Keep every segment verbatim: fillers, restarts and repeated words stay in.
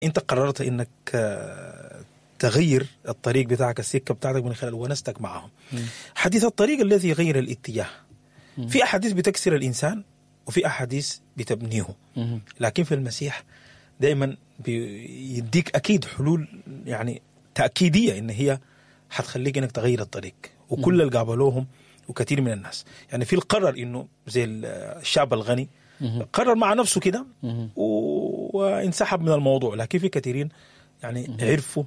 انت قررت انك تغير الطريق بتاعك، السكة بتاعتك من خلال ونستك معهم. حديث الطريق الذي يغير الاتجاه. في احاديث بتكسر الانسان وفي احاديث بتبنيه، لكن في المسيح دائما بيديك اكيد حلول يعني تاكيديه ان هي حتخليك انك تغير الطريق. وكل اللي قابلوهم وكثير من الناس يعني في القرر انه زي الشاب الغني قرر مع نفسه كده وانسحب من الموضوع، لكن في كثيرين يعني عرفوا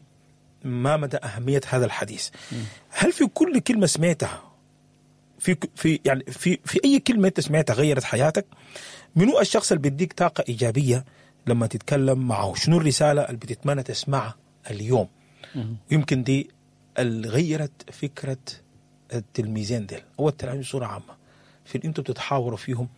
ما مدى أهمية هذا الحديث. هل في كل كلمة سمعتها في في يعني في في أي كلمة أنت سمعتها غيرت حياتك؟ منو الشخص اللي بيديك طاقة إيجابية لما تتكلم معه؟ شنو الرسالة اللي بتتمنى تسمعها اليوم؟ ويمكن دي اللي غيرت فكرة التلميذين ديل أو التلاميذ بصورة عامة في اللي أنتوا بتتحاوروا فيهم،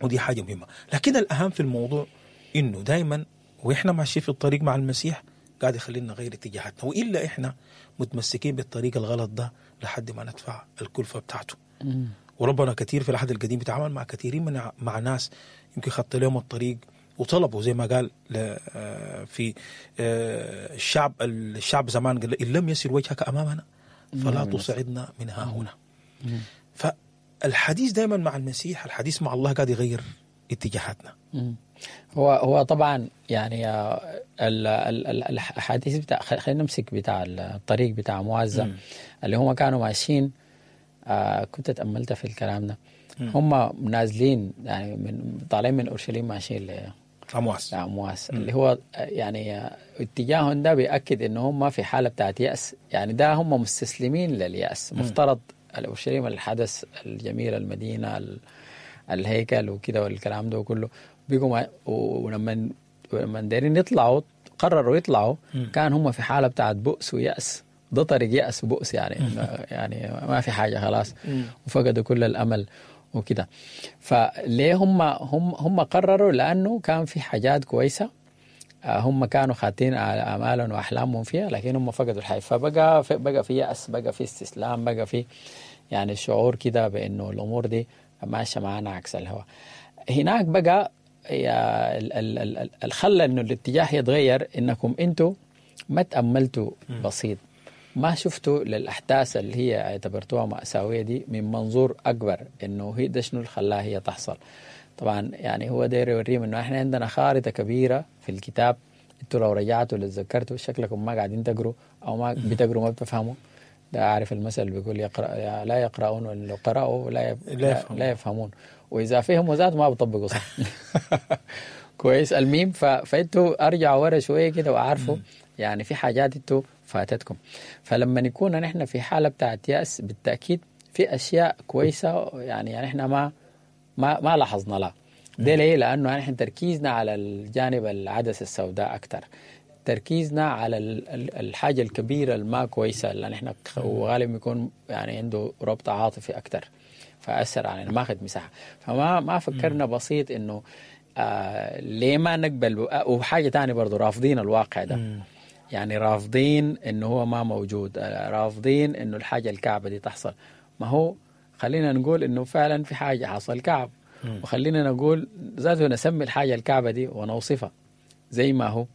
ودي حاجة مهمة. لكن الأهم في الموضوع إنه دايما وإحنا ماشيين في الطريق مع المسيح قاعد يخلينا نغير اتجاهاتنا، وإلا إحنا متمسكين بالطريق الغلط ده لحد ما ندفع الكلفة بتاعته. مم. وربنا كثير في العهد القديم بيتعامل مع كثيرين من مع ناس يمكن خط لهم الطريق وطلبوا، زي ما قال في الشعب الشعب زمان قال إن لم يسر وجهك أمامنا فلا تصعدنا من ها هنا. فالحديث دائما مع المسيح، الحديث مع الله قاعد يغير اتجاهاتنا. مم. هو هو طبعا يعني الحديث بتاع، خلينا نمسك بتاع الطريق بتاع موازة اللي هم كانوا ماشيين. آه كنت تأملت في الكلام ده. هم نازلين يعني من طالعين من اورشليم ماشيين لعمواس، لعمواس اللي هو يعني اتجاههم ده بيأكد ان هم في حالة بتاعت يأس، يعني ده هم مستسلمين لليأس. مفترض اورشليم الحدث الجميل، المدينة، الهيكل وكده والكلام ده كله، بيقوم ولما ولما دايرين يطلعوا قرروا يطلعوا، كان هم في حالة بتاعت بؤس ويأس. ده طريق يأس وبؤس يعني يعني ما في حاجة خلاص، وفقدوا كل الأمل وكده. فليه هم هم هم قرروا؟ لأنه كان في حاجات كويسة هم كانوا خاتين على آمالهم وأحلامهم فيها، لكن هم فقدوا الحياة. فبقى بقى في يأس، بقى في استسلام، بقى في يعني شعور كده بأنه الأمور دي ماشية معانا عكس الهواء. هناك بقى يا الخلى انه الاتجاه يتغير، انكم انتوا ما تأملتوا بسيط، ما شفتوا للاحداث اللي هي اعتبرتوها مأساوية دي من منظور اكبر، انه هي ده شنو اللي خلاها هي تحصل. طبعا يعني هو داير يوريهم انه احنا عندنا خارطة كبيرة في الكتاب، انتوا لو رجعتوا لتذكرتوا شكلكم ما قاعدين تقروا او ما بتقروا ما بتفهموا. ده عارف المثل اللي بيقول يقرأ لا يقرؤون، ولو قرأوا لا يف... لا, يفهمون. لا يفهمون، وإذا فهموا ذات ما بيطبقوا صح. كويس الميم. ف... فانتوا ارجعوا ورا شوية كده وأعرفوا يعني في حاجات انتوا فاتتكم. فلما نكون نحن في حالة بتاعت يأس بالتأكيد في أشياء كويسة يعني يعني احنا ما ما ما لاحظنا لها. ده ليه؟ لأنه نحن تركيزنا على الجانب العدسة السوداء أكثر، تركيزنا على الحاجة الكبيرة الما كويسة اللي نحن وغالبا يكون يعني عنده ربط عاطفي أكتر، فأثر علينا ما أخذ مساحة. فما ما فكرنا بسيط إنه آه ليه ما نقبل. وحاجة تانية برضو رافضين الواقع ده. مم. يعني رافضين إنه هو ما موجود، رافضين إنه الحاجة الكعبة دي تحصل. ما هو خلينا نقول إنه فعلا في حاجة حصل كعب، مم. وخلينا نقول ذاته نسمي الحاجة الكعبة دي ونوصفها زي ما هو.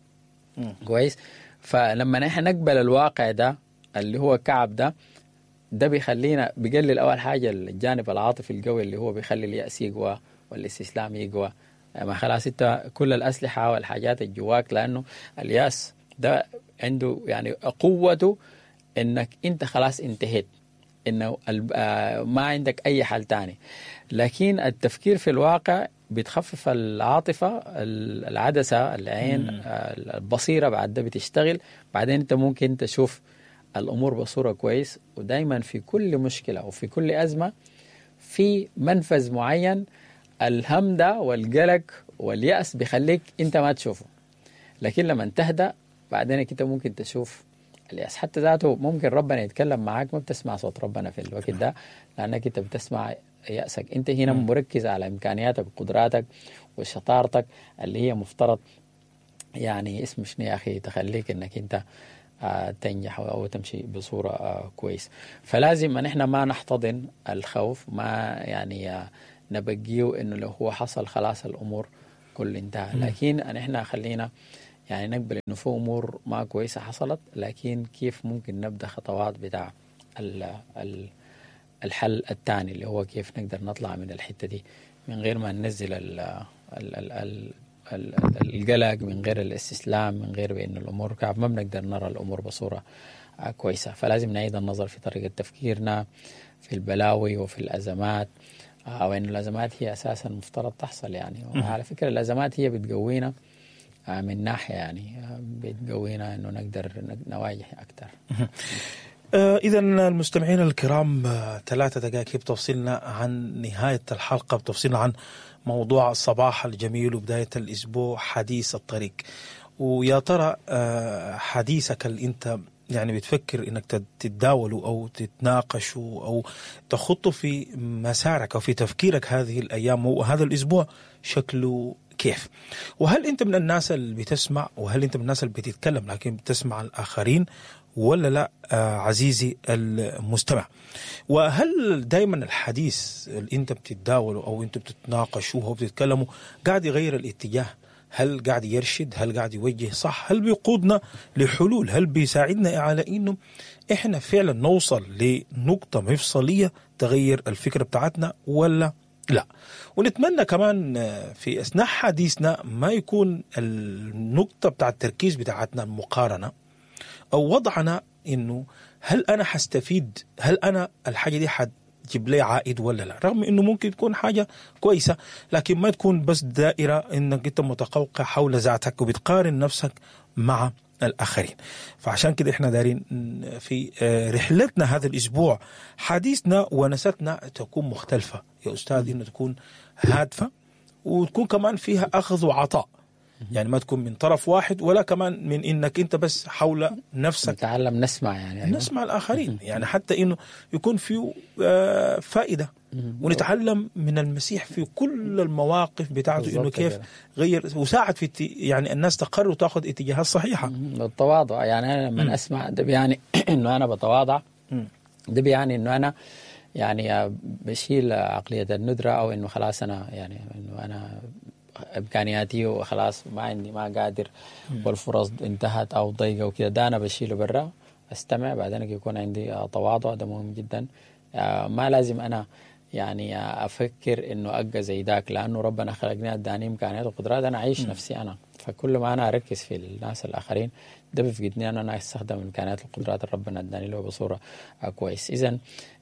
مم. كويس. فلما نحن نقبل الواقع ده اللي هو كعب ده، ده بيخلينا بيقلل أول حاجة الجانب العاطفي القوي اللي هو بيخلي اليأس يقوى والاستسلام يقوى. ما خلاص انت كل الأسلحة والحاجات الجواك، لأنه اليأس ده عنده يعني قوته انك انت خلاص انتهيت، انه ما عندك اي حل تاني. لكن التفكير في الواقع بتخفف العاطفة، العدسة، العين، البصيرة بعد ده بتشتغل. بعدين انت ممكن تشوف الأمور بصورة كويس. ودايما في كل مشكلة وفي كل أزمة في منفذ معين، الهم ده والقلق واليأس بيخليك انت ما تشوفه، لكن لما تهدأ بعدين انت ممكن تشوف اليأس. حتى ذاته ممكن ربنا يتكلم معاك ما بتسمع صوت ربنا في الوقت ده، لأنك انت بتسمع يأسك. انت هنا مركز على امكانياتك وقدراتك وشطارتك اللي هي مفترض يعني اسم شنو يا اخي تخليك انك انت تنجح او تمشي بصورة كويس. فلازم ان احنا ما نحتضن الخوف، ما يعني نبقيه انه لو هو حصل خلاص الامور كل انتهى، لكن ان احنا خلينا يعني نقبل إنه في أمور ما كويسة حصلت، لكن كيف ممكن نبدأ خطوات بتاع ال ال الحل الثاني اللي هو كيف نقدر نطلع من الحتة دي من غير ما ننزل ال ال ال ال ال القلق، من غير الاستسلام، من غير بأن الأمور كعب ما بنقدر نرى الأمور بصورة كويسة. فلازم نعيد النظر في طريقة تفكيرنا في البلاوي وفي الأزمات، وإن الأزمات هي أساسا مفترض تحصل يعني. وعلى فكرة الأزمات هي بتقوينا من ناحية، يعني بتقوينا إنه نقدر نواجه أكثر. إذا المستمعين الكرام، ثلاثة دقائق بتفصلنا عن نهاية الحلقة، بتفصلنا عن موضوع الصباح الجميل وبداية الأسبوع، حديث الطريق. ويا ترى حديثك اللي أنت يعني بتفكر إنك تتداوله أو تتناقشه أو تخطه في مسارك أو في تفكيرك هذه الأيام وهذا الأسبوع شكله كيف؟ وهل أنت من الناس اللي بتسمع، وهل أنت من الناس اللي بتتكلم لكن بتسمع الآخرين ولا لا عزيزي المستمع؟ وهل دايما الحديث اللي أنت بتتداوله أو أنت بتتناقشوه أو بتتكلموا قاعد يغير الاتجاه؟ هل قاعد يرشد؟ هل قاعد يوجه صح؟ هل بيقودنا لحلول؟ هل بيساعدنا على إنه إحنا فعلا نوصل لنقطة مفصلية تغير الفكرة بتاعتنا ولا لا؟ ونتمنى كمان في أثناء حديثنا ما يكون النقطة بتاع التركيز بتاعتنا المقارنة أو وضعنا إنه هل أنا حستفيد، هل أنا الحاجة دي حتجيب لي عائد ولا لا، رغم إنه ممكن تكون حاجة كويسة، لكن ما تكون بس دائرة إنك أنت متقوقع حول ذاتك وبتقارن نفسك مع الآخرين. فعشان كده إحنا دارين في رحلتنا هذا الأسبوع حديثنا ونستنا تكون مختلفة يا أستاذ، إنه تكون هادفة وتكون كمان فيها أخذ وعطاء، يعني ما تكون من طرف واحد ولا كمان من إنك أنت بس حول نفسك. نتعلم نسمع يعني، أيوة. نسمع الآخرين، يعني حتى إنه يكون فيه فائدة، ونتعلم من المسيح في كل المواقف بتاعته إنه كيف غير وساعد في يعني الناس تقرر وتأخذ اتجاهات صحيحة. التواضع، يعني أنا لما أسمع ده بيعني إنه أنا بتواضع، ده بيعني إنه أنا يعني بشيل عقلية الندرة، أو إنه خلاص أنا يعني إنه أنا إمكانياتي وخلاص ما عندي ما قادر والفرص انتهت أو ضيقة وكده، ده أنا بشيله برا، أستمع، بعدين يكون عندي تواضع، ده مهم جدا. ما لازم أنا يعني أفكر إنه أبقى زي داك، لأنه ربنا خلقني أداني إمكانيات وقدرات، أنا أعيش نفسي أنا. فكل ما أنا أركز في الناس الآخرين ده بيفقدني أنا أنا أستخدم إمكانيات القدرات اللي ربنا أداني له بصورة كويس. إذن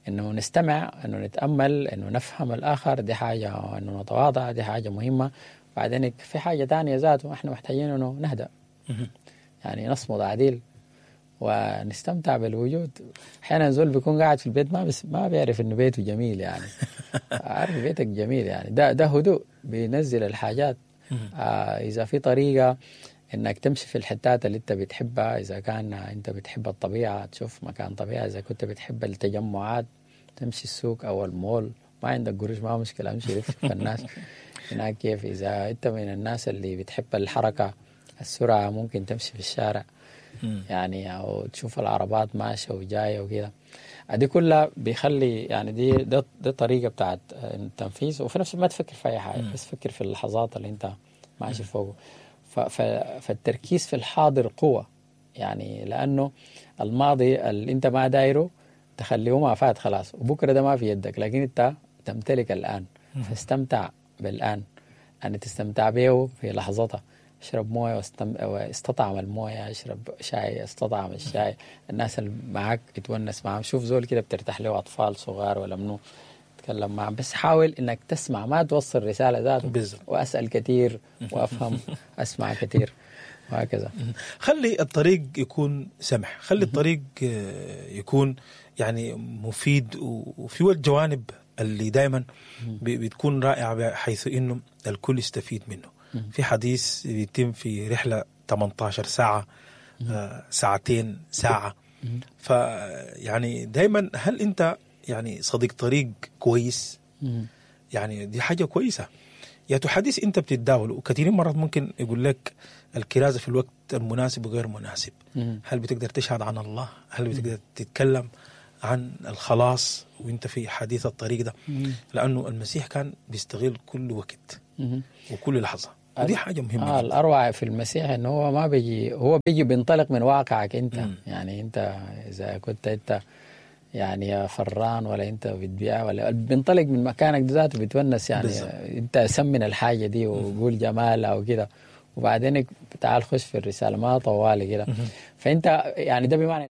إنه نستمع، إنه نتأمل، إنه نفهم الآخر، دي حاجة، إنه نتواضع، دي حاجة مهمة. بعدين في حاجة تانية ذاته إحنا محتاجين إنه نهدأ، يعني نصمد عديل ونستمتع بالوجود. احيانا زول بيكون قاعد في البيت ما بس ما بيعرف انه بيته جميل، يعني عارف بيتك جميل، يعني ده ده هدوء بينزل الحاجات. آه اذا في طريقه انك تمشي في الحتات اللي انت بتحبها، اذا كان انت بتحب الطبيعة تشوف مكان طبيعة، اذا كنت بتحب التجمعات تمشي السوق او المول، ما عندك قروش ما مشكلة، امشي لف في الناس هناك كيف. اذا انت من الناس اللي بتحب الحركة السرعة ممكن تمشي في الشارع يعني، او تشوف العربات ماشية وجاية وكده، دي كلها بيخلي يعني دي ده, دي طريقه بتاعت التنفيذ. وفي نفس الوقت ما تفكر في اي حاجة، بس فكر في اللحظات اللي انت ماشي فوقه. فالتركيز في الحاضر قوة، يعني لانه الماضي اللي انت ما دايرة تخليه ما فات خلاص، وبكره ده ما في يدك، لكن انت تمتلك الان، فاستمتع بالان، يعني تستمتع به في لحظتها. اشرب مويه واستم... واستطعم المويه، اشرب شاي استطعم الشاي، الناس اللي معك اتونس معهم، شوف زول كده بترتاح له، اطفال صغار ولا منو تتكلم معهم، بس حاول انك تسمع، ما توصل رسالة ذاته، واسال كثير وافهم اسمع كثير وهكذا. خلي الطريق يكون سمح، خلي الطريق يكون يعني مفيد، وفي الجوانب اللي دائما بتكون رائعة بحيث انه الكل يستفيد منه. في حديث بيتم في رحلة ثمانية عشر ساعة، آه، ساعتين، ساعة. فيعني دايما هل أنت يعني صديق طريق كويس؟ يعني دي حاجة كويسة. يا حديث أنت بتتداول، وكثير مرات ممكن يقول لك الكرازة في الوقت المناسب وغير مناسب. هل بتقدر تشهد عن الله؟ هل بتقدر تتكلم عن الخلاص وانت في حديث الطريق ده؟ لأنه المسيح كان بيستغل كل وقت وكل لحظة. ودي حاجة مهمة آه جداً. الاروع في المسيح انه هو ما بيجي، هو بيجي بينطلق من واقعك انت. مم. يعني انت اذا كنت انت يعني فران ولا انت بتبيع ولا بينطلق من مكانك ده ذاته بتونس يعني. بالظبط. انت سمن الحاجة دي وقول جمالها وكده، وبعدين تعال خش في الرسالة ما طوالي كده. فانت يعني ده بمعنى